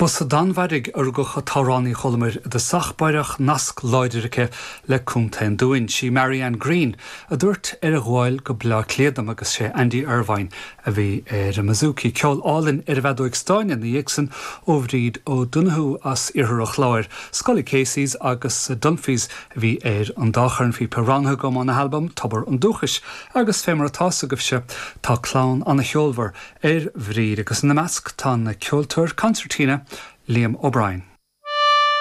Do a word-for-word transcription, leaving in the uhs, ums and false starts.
Ba sa Danmhairg a rugadh an t-amhránaí Cholmair i dtosach báire ach nasc láidir aici le Contae an Dúin. Sí Marianne Green a dúirt ar a ghabháil go Bleá Cliath dom agus sé Andy Irvine a bhí ar an mbouzouki ceol álainn ar an bhfeadóig stáin ina dhiaidh sin ó Bhríd O'Donoghue as Iarthar an Chláir. Scully Casey's agus Dunphy's a bhí ar an dá chornphíopa roghnaithe agam óna halbam Tobar an Dúchais agus fé mar atá agaibhse tá clann an-cheolmhar ar Bhríd agus ina measc tá an ceoltóir concertina Liam O'Brien.